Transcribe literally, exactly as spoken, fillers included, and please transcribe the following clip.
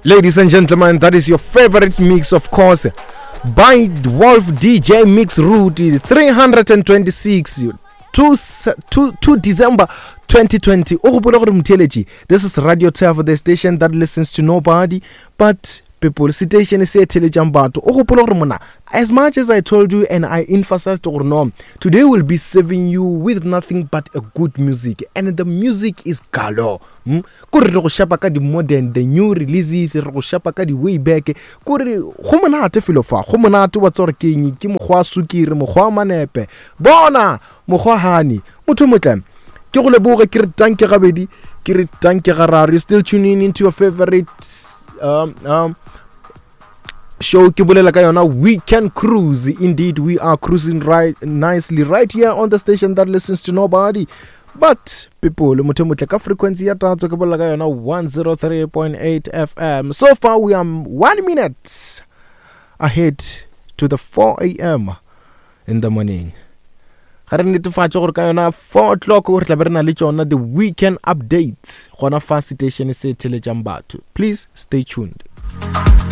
Ladies and gentlemen, that is your favorite mix, of course, by Wolf D J Mix Route three twenty-six two, two, two December twenty twenty. O gopole gore motheeletši, this is Radio Turf, the station that listens to nobody but people, station se theletšang batho. O gopole gore mona, as much as I told you and I emphasized gore no, today will be serving you with nothing but a good music, and the music is galore, hmm? Kore re go shapa ka di-modern, the new releases, re go shapa ka di-way back. Kore go monate felo fa, go monate wa tsa gore keng ke mokgwa wa sukiri, mokgwa wa manepe, bona mokgwa hani. Motho motle, ke go leboge, ke re tanke gabedi, ke re tanke gararo. You still tuning into your favorite um, um, show, ke bolela ka yona Weekend Cruise. Indeed, we are cruising right nicely right here on the station that listens to nobody but people. Motho motle, ka frequency ya tatso, ke bolela ka yona one oh three point eight F M. So far we are one minute ahead to the four a m in the morning. Ga re netefatše gore ka yona four o'clock re tla be re na le tšona the weekend updates gona fa station se theletšang batho. Please stay tuned.